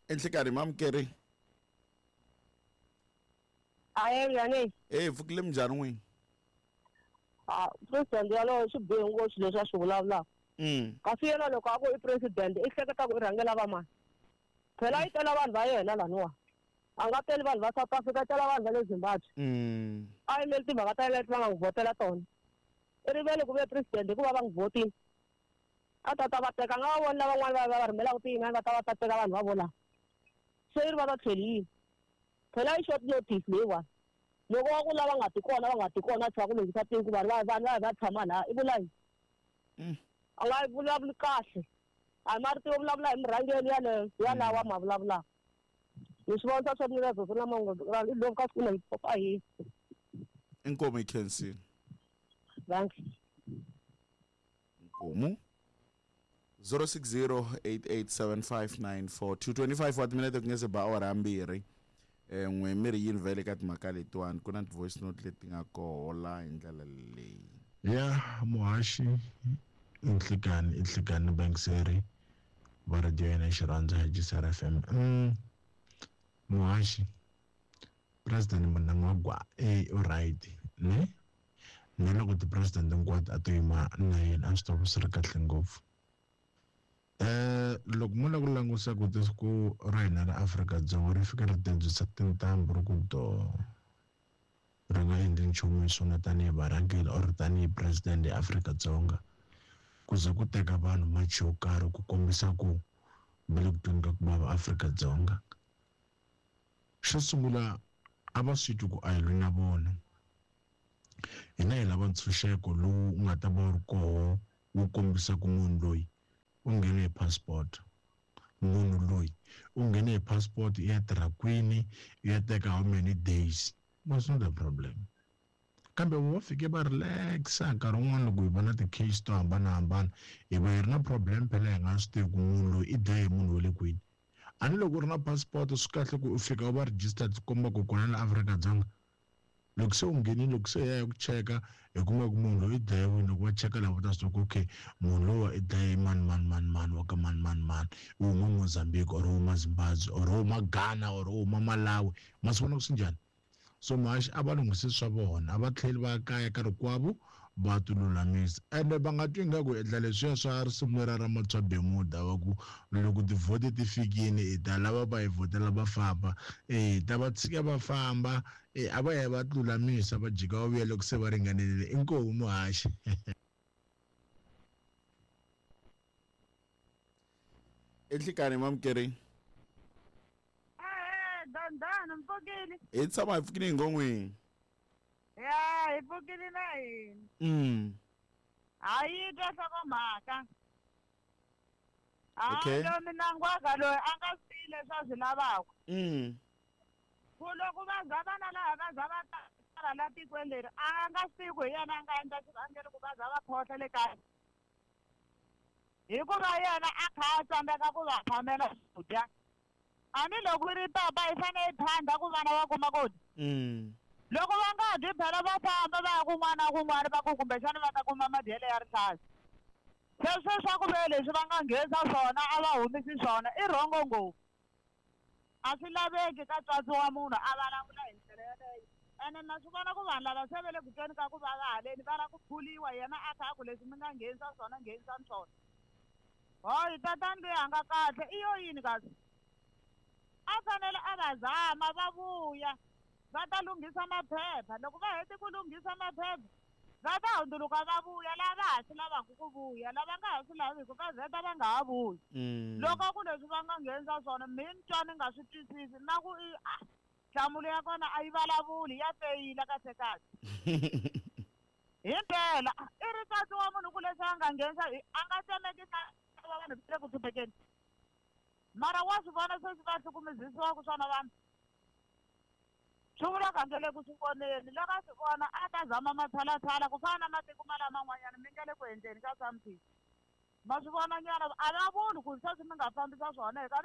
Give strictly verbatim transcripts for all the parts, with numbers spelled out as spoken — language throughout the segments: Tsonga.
Enhlekanhi mamukeri. Aye njhani? Eh pfukile minjhani n'wini? Ah, president yalowo swi bihe ngopfu leswi a swi vulavulaka. Mm. Kasi yena loko a ku i president i hleketa ku i rhangela va mani? Phela yi tela vanhu va yena laniwa. A nga teli vanhu va South Africa, i tela vanhu va le Zimbabwe. Mm. A yimeli timhaka ta yena leti va nga n'wi vhotela tona. I rivele ku ve president hikuva va n'wi vhotile. A ta ta va teka, a nga va voni lavan'wana va va va rhumelaka tiyin'wana va ta va ta teka vanhu va vo lava. Se i ri va va tlheli yini? Phela i short notice leyiwani. Loko wa ku lava nga ti kona va nga ti kona a tshika ku lunghisa tiko vanhu va vanhu va va tshama laha i vula yini? Mm. A nga vulavuli kahle. A marito yo vulavula hi murhangeri yaleyo ya lawa ma vulavulaka. Ni swi vonisa swa mina zozo na mango i loko ka siku na papa hi. Inkomu yi khensile. Thanks. Inkomu. zero six zero eight eight seven five nine four two twenty-five wa timinete ku nge se ba awara mbirhi. Eh n'we mi ri yini vhele ka timhaka letiwani ku na ti-voice note leti nga koho la hi ndlela leyi. Ya muhaxi Nhlikani Nhlikani Bankseri va radio yena xirhandza hi G C R F M. Mm. Muhaxi President Mnangagwa eh u right ne ne loko ti-president hinkwato a to yima na yena a swi ta va swi ri kahle ngopfu. Eh loko mo lava ku langusa ku tiko ra hina ra Afrika-Dzonga ri fika ri tindzisa tintambu ri ku do ri nga endli nchumu hi swona tanihi varhangeri or tanihi president ya Afrika-Dzonga ku ze ku teka vanhu machi yo karhi ku kombisa ku va le ku tweni ka ku vava Afrika-Dzonga. Xo sungula a va swi twi ku a hi lwi na vona. Hina hi lava ntshunxeko lowu nga ta va wu ri koho wu kombisa ku munhu loyi u nghene hi passport. Munhu loyi u nghene hi passport i ya tirha kwini, i ya teka how many days. Was not a problem. Kambe vo fike va relaxa nkarhi wun'wani loko hi vona ti-case to hambanahambana hi va hi ri na problem phela hi nga swi tivi ku munhu loyi i dlaye munhu wa le kwini. A ni loko u ri na passport swi kahle ku u fika u va registered swi komba ku kona la Afrika-Dzonga. Loko se u nghenile loko se hi ya hi ku cheka hi kuma ku munhu loyi i dlayiwile loko va cheka lava ta swi tiva ku okay munhu lowa i dlaye mani mani mani mani wa ka mani mani mani u huma Mozambique or u huma Zimbabwe or u huma Ghana or u huma Malawi ma swi vona ku swi njhani. So muhaxi a va lunghisi swa vona a va tlheli va kaya ka rikwavo va ti lulamisa ende va nga twi ingaku endla leswiya swa risimu leriya ra Matswa Bermuda wa ku loko tivhoti ti fikile hi ta lava va hi vhotela va famba eh ta va tshika va famba eh a va ya va ti lulamisa va jika va vuya loko se va ringanerile inkomu muhaxi. Enhlikani mamukeri. Dandana mpfukile. Hi tshama hi pfukile hi ngon'wini. Ya hi pfukile na hina. Mm. A yi twa nhlokomhaka. Okay. A lo Mnangagwa loyi a nga swi tivi leswi a swi lavaka. Mm. Ku loko va za va na laha va za va tala la tikweni leri a nga swi tivi ku hi yena a nga endla xivangelo ku va za va khohla le kaya. Hikuva yena a kha a tsandzeka ku va phamela swakudya. A ni loko ri papa i fanele i phanda ku vana va kuma ku dya. Mm. Loko va nga dyi phela va famba va ya kun'wana na kun'wana va ku kumbexana va ta kuma madyelo ya rihlaza. Sweswo swa ku ve leswi va nga nghenisa swona a va humisi swona i rhongo ngopfu. A swi laveki ka tswatsi wa munhu a vulavula hi ndlela yeleyo. Ene na swi vona ku vanhu lava se va le ku tweni ka ku vava haleni va lava ku phuliwa yena a kha a ku leswi mi nga nghenisa swona nghenisani swona. Hayi tatani loyi a nga kahle i yo yini kasi? A fanele a va zama va vuya va ta lunghisa maphepha loko va hete ku lunghisa maphepha va ta hundzuluka va vuya lava ha swi lavaka ku vuya lava nga ha swi laviki va vheta va nga ha vuyi. Loko ku leswi va nga nghenisa swona mi ni twa ni nga swi twisisi na ku i a nhlamulo ya kona a yi vulavuli ya feyila kahle kahle. Himpela i ri tsatsi wa munhu ku leswi a nga nghenisa a nga tsemekisa va vanhu va le ku hluphekeni. Mara wa swi vona sweswi va hlukumezisiwaka swona vanhu. Swi vula ku a nge le ku swi voneni loko a swi vona a ta zama matshalatshala ku fana na matiko ma laman'wanyana mi nga le ku endleni ka something. Ma swi vona nyana a va vuli ku sweswi mi nga fambisa swona hi ka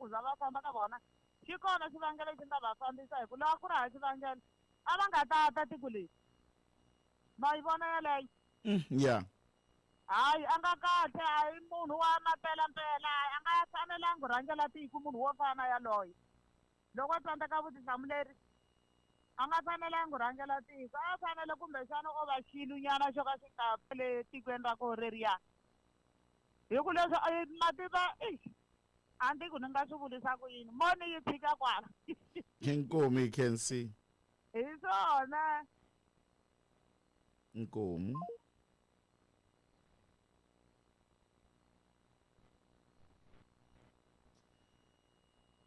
ku za va famba ka vona xi kona xivangelo xi nga va fambisa hi ku lava ku ri hava xivangelo a va nga ta ta tiko leri. Ma yi vona yeleyo? Ya. Hayi a nga kahle a hi munhu wa mampelampela a nga fanelangi. ku rhangela tiko munhu wo fana yaloye. Loko a tsandzeka vutihlamuleri a nga fanelangi ku rhangela tiko, a fanele kumbexana o va xilunyana xo ka xi nga le tikweni ra koho reriya. Hi ku leswi mativa a ndi ku ni nga swi vulisa ku yini mo ni yi tshika kwala. Inkomu you can see. Hi swona. Inkomu.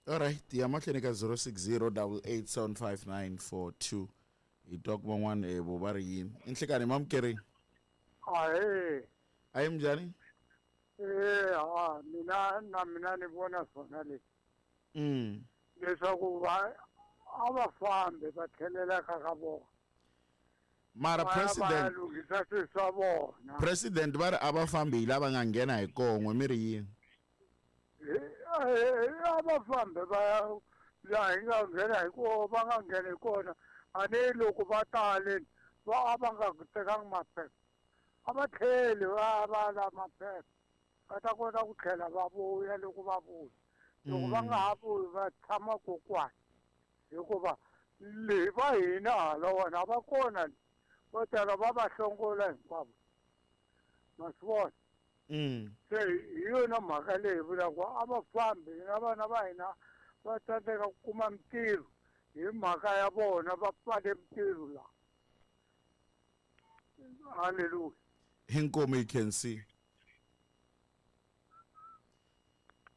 All right, ya mahlweni ka zero six zero double eight seven five nine four two. Hi twa ku van'wana eh vo va ri yini. Inhlekani mamukeri. Ahee. Ayi minjhani? Eh ha mina na mina ni vona swona leswi. Mm. Leswaku va a va fambi va tlhelela ka ka vona. Mara president lunghisa swilo swa vona. President va ri a va fambi hi lava nga nghena hi kon'we mi ri yini? A va fambi va ya laha hi nga nghena hi kona va nga nghena hi kona a ni loko va tale va a va nga tekangi maphepha a va tlheli va va la maphepha va ta kota ku tlhela va vuya loko va vuya loko va nga ha vuyi va tshama kokwana hikuva le va hina hala wona a va kona vo tala va va hlongola hinkwavo ma swi vona. Mm. Se hi yona mhaka leyi vulaka a va fambi na vana va hina va tsandzeka ku kuma mintirho hi mhaka ya vona va pfale mintirho laha. Hallelujah. Inkomu you can see.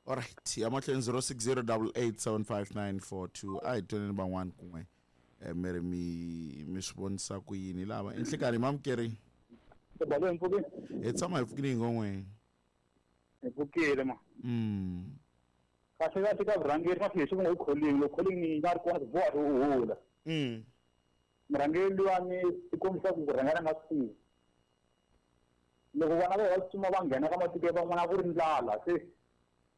All right, ya mahlweni zero six zero double eight seven five nine four two. A hi twaneni van'wana kun'we mi ri mi mi swi vonisa ku yini lava. Inhlekani mamukeri. Hi tshama hi pfukile hi ngon'we. Hi pfukile ma. Mm. Kahle kahle ka vurhangeri ma fike swi nga calling, loko calling yi nga ri kona ku boha u hula. Mm. Murhangeri luwani i kombisa ku rhangela nga swi tivi. Loko vana va va tsutsuma va nghena ka matiko ya van'wana ku ri ndlala se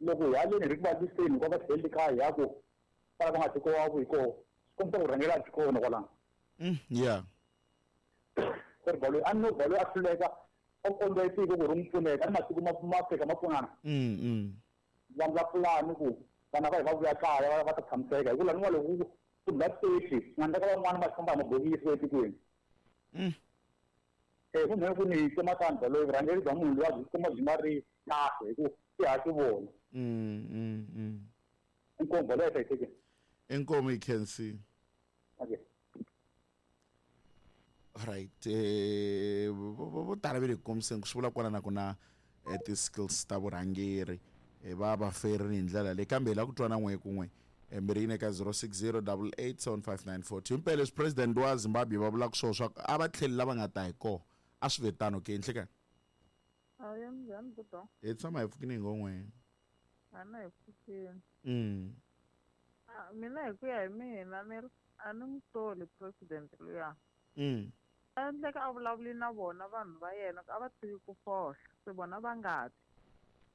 loko hi haleni hi ri ku va lwiseni hikuva va tlheleli kaya hi ya ku kwala va nga tiko wa hi kona swi kombisa ku rhangela a byi kona kwalano. Mm, yeah. Ku ri balo a no balo a hluleka o kombela tiko ku ri n'wi pfuneka ni matiko ma ma Afrika ma pfunana. Mm, mm. Va endla pulani ku vana va hi va vuya kaya va va ta tshamiseka hi ku laniwa loko ku dlula thirty nga endleka van'wana va famba hi mabokisi etikweni. Mm. Eh ku ku ni tsemakani balo vurhangeri bya munhu luya byi kuma byi nga ri kahle hi ku i ha swi vona. Mm, mm, mm. Inkomu balo ya hlayisekile. Inkomu you can see. Okay. Right. Eh vo tala va le kombiseni ku swi vula kwala na ku na ti-skills ta vurhangeri va va ferini hi ndlela leyi kambe hi lava ku twa na n'we kun'we mi ri yini eka zero six zero double eight seven five nine four two. Himpela leswi president wa Zimbabwe va vulaka swona swa ku a va tlheli lava nga ta hi kona a swi ve tano ke inhlekani. Ayi minjhani buto? Hi tshama hi pfukile hi ngon'we. A na hi pfukile. Mm. Mina hi ku ya hi mina ni a ni n'wi soli president luya. Mm. A endleka a vulavuli na vona vanhu va yena a va tshiki ku fohla se vona va nga ti.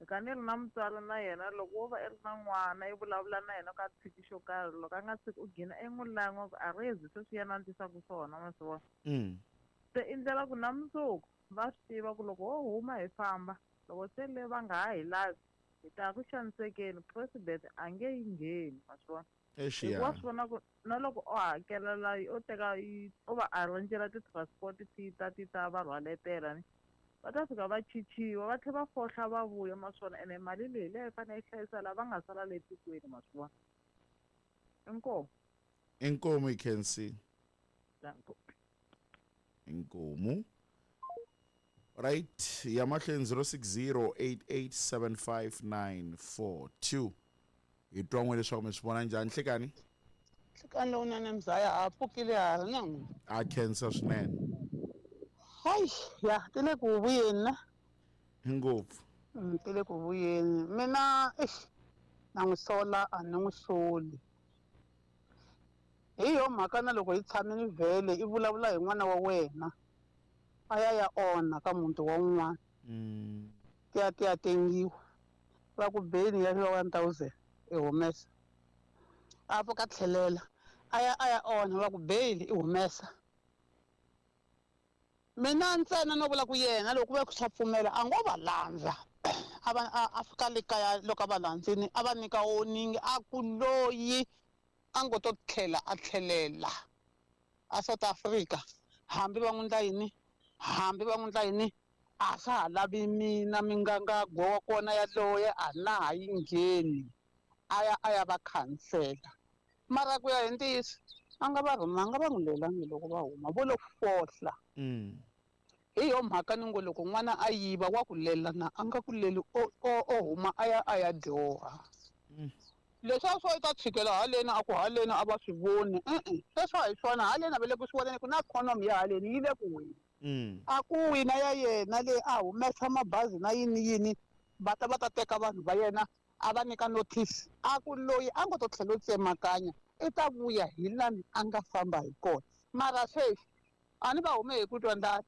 Hika ni ri na mutswari na yena loko wo va i ri na n'wana i vulavula na yena ka tshiki xo karhi loko a nga tshiki u gina i n'wi lan'wa ku a rezi sweswi yena a ndlisaka swona ma swi vona. Mm. Se i ndlela ku na mundzuku va swi tiva ku loko wo huma hi famba loko se le va nga ha hi lavi hi ta ku xanisekeni president a nge yi ngheni ma swi vona. Exia. Wa swi vona ku na loko o hakelela o teka o va arrangela ti-transport ti ta ti ta va rhwaletela ni va ta fika va chichiwa va tlhela va fohla va vuya ma swona ene mali leyi leyi fanele yi hlayisa lava nga sala le tikweni ma swi vona. Inkomu. Inkomu you can see. Inkomu. Right, ya mahlweni zero six zero eight eight seven five nine four two. Hi twa n'we leswaku mi swi vona njhani nhlekani? Nhlekani lowunene mzaya ha pfukile ha ri na n'wina. A khensa swinene. Hayi ya ti le ku vuyeni na. Ngopfu. Ti le ku vuyeni. Mina eish na n'wi sola a ni n'wi soli. Hi yo mhaka na loko hi tshamile vhele i vulavula hi n'wana wa wena a ya ya onha ka muti wa un'wana. Mm. Ti ya ti ya tengiwa. Va ku beni ya one thousand i humesa. A pfuka tlhelela a ya a ya onha va ku bail i humesa. Mina ntsena no vula ku yena loko ku ve ku swa pfumela a ngo va landza. A va a fika le kaya loko a va landzini a va nyika warning a ku loyi a ngo to tlhela a tlhelela a South Africa hambi va n'wi ndla yini hambi va n'wi ndla yini a swa ha lavi mina mingangagwa wa kona yaloye a na ha yi ngheni a ya a ya va khansela mara ku ya hi ntiyiso a nga va rhumanga va n'wi lelangi loko va huma vo lo fohla hi yo mhaka ni ngo loko n'wana a yiva wa ku lela na a nga ku leli o o o huma a ya a ya dyoha leswi swo i ta tshikela haleni a ku haleni a va swi voni e-e sweswo a hi swona haleni a va le ku swi voneni ku na economy ya haleni yi le ku weni a ku wina ya yena leyi a humesa mabazi na yini yini va ta va ta teka vanhu va yena a va nyika notice a ku loyi a ngo to tlhela u tsemakanya i ta vuya hi lani a nga famba hi kona mara sweswi a ni va hume hi ku twa ndlala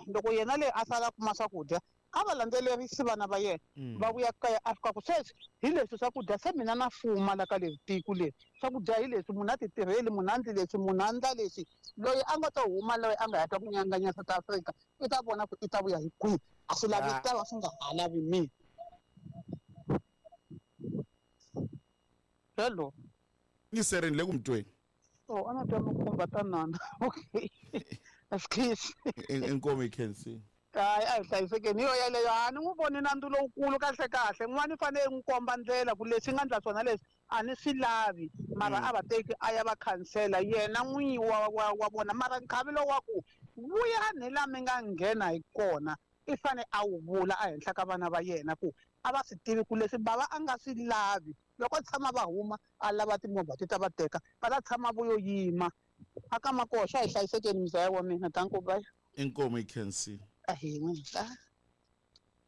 loko yena leyi a sala kuma swakudya a va landzelerisi vana va yena va vuya kaya a fika ku sweswi hi leswi swakudya se mina na fuma la ka leri tiko leri swakudya hi leswi munhu a ti tirheli munhu a ndli leswi munhu a ndla leswi loyi a nga ta huma loyi a nga ya twa ku nyanganya South Africa i ta vona ku i ta vuya hi kwihi a swi lavi ta va swi nga ha lavi mina hello ngiserini le ku mutweni oh a na twa mikhumba tanana okay excuse inkomo you can see hayi a hi hlayisekeni hi yo yeleyo a ni n'wi voni nandzu lowukulu kahle kahle n'wana i fanele n'wi komba ndlela ku leswi nga ndla swona leswi a ni swi lavi mara a va teki a ya va khansela yena n'winyi wa wa wa vona mara nkhavelo wa ku vuyani la mi nga nghena hi kona i fane a wu vula ehenhla ka vana va yena ku a va swi tivi ku leswi bava a nga swi lavi loko tshama va huma a lava timovha ti ta va teka va ta tshama vo yo yima a ka makoxa a hi hlayisekeni muzaya wa mina danko bye inkomo you can see ahee n'wina.